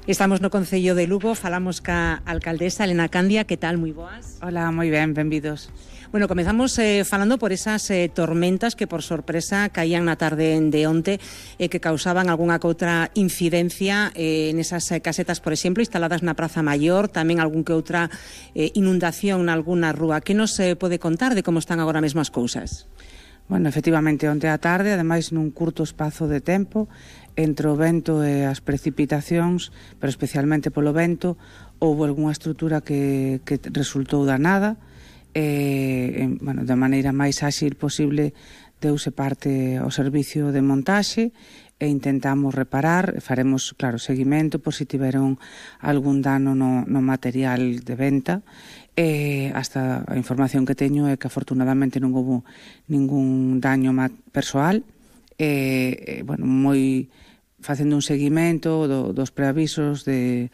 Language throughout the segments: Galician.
Estamos no Concello de Lugo, falamos ca alcaldesa Elena Candia. Que tal? Moi boas. Hola, moi ben, benvidos. Bueno, comezamos falando por esas tormentas que por sorpresa caían na tarde de onte que causaban algunha que outra incidencia nesas casetas, por exemplo, instaladas na Praza Maior, tamén algún que outra inundación nalgúna rúa. Que nos pode contar de como están agora mesmo as cousas? Bueno, efectivamente, onte á tarde, ademais nun curto espazo de tempo, entre o vento e as precipitacións, pero especialmente polo vento, houve algunha estrutura que resultou danada, bueno, da maneira máis áxil posible deuse parte ao servicio de montaxe e intentamos reparar, faremos, claro, seguimento por si tiveron algún dano no material de venta. Hasta a información que teño é que afortunadamente non houve ningún daño persoal. Bueno, moi facendo un seguimento dos preavisos de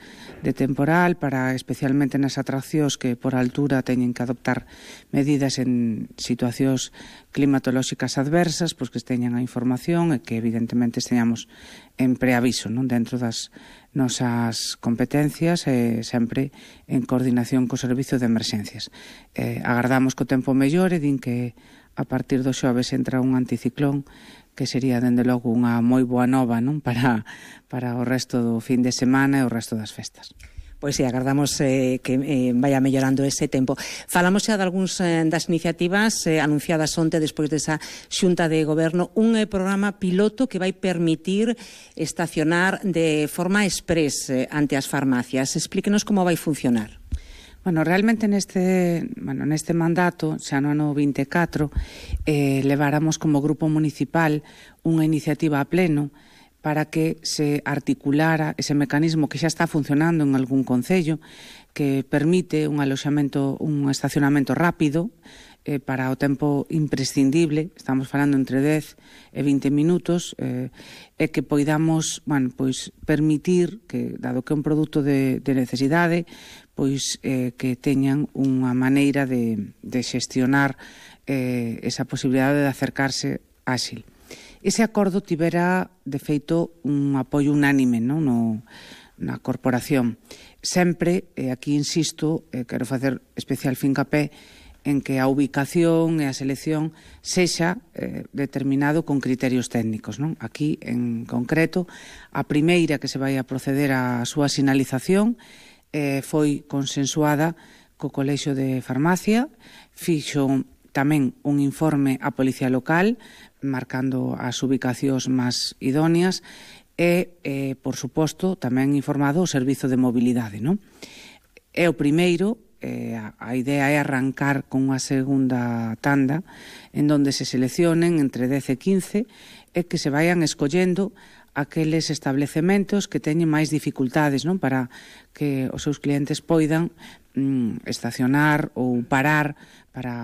temporal para especialmente nas atraccións que por altura teñen que adoptar medidas en situacións climatolóxicas adversas, pois que teñan a información e que evidentemente esteñamos en preaviso, non, dentro das nosas competencias e sempre en coordinación co Servicio de Emerxencias. Agardamos que o tempo mellore, din que a partir do xoves entra un anticiclón que sería, dende logo, unha moi boa nova, non, para o resto do fin de semana e o resto das festas. Pois sí, agardamos que vaya mellorando ese tempo. Falamos xa de algúns das iniciativas anunciadas onte despois desa xunta de goberno, un programa piloto que vai permitir estacionar de forma exprés ante as farmacias. Explíquenos como vai funcionar. Bueno, realmente neste mandato, xa no ano 24, leváramos como grupo municipal unha iniciativa a pleno para que se articulara ese mecanismo que xa está funcionando en algún concello, que permite un estacionamento rápido para o tempo imprescindible, estamos falando entre 10 e 20 minutos, e que poidamos, bueno, pois permitir que, dado que é un produto de necesidade, pois que teñan unha maneira de xestionar esa posibilidade de acercarse áxil. Ese acordo tivera, de feito, un apoio unánime, non, na corporación. Sempre, aquí insisto, quero facer especial fincapé en que a ubicación e a selección sexa determinado con criterios técnicos, non? Aquí, en concreto, a primeira que se vai a proceder á súa sinalización foi consensuada co Colexio de Farmacia, fixo tamén un informe á Policía Local, marcando as ubicacións máis idóneas, e, por suposto, tamén informado o Servizo de Mobilidade, non? É o primeiro. A idea é arrancar con unha segunda tanda en donde se seleccionen entre 10 e 15 e que se vayan escollendo aqueles establecementos que teñen máis dificultades, non, para que os seus clientes poidan estacionar ou parar para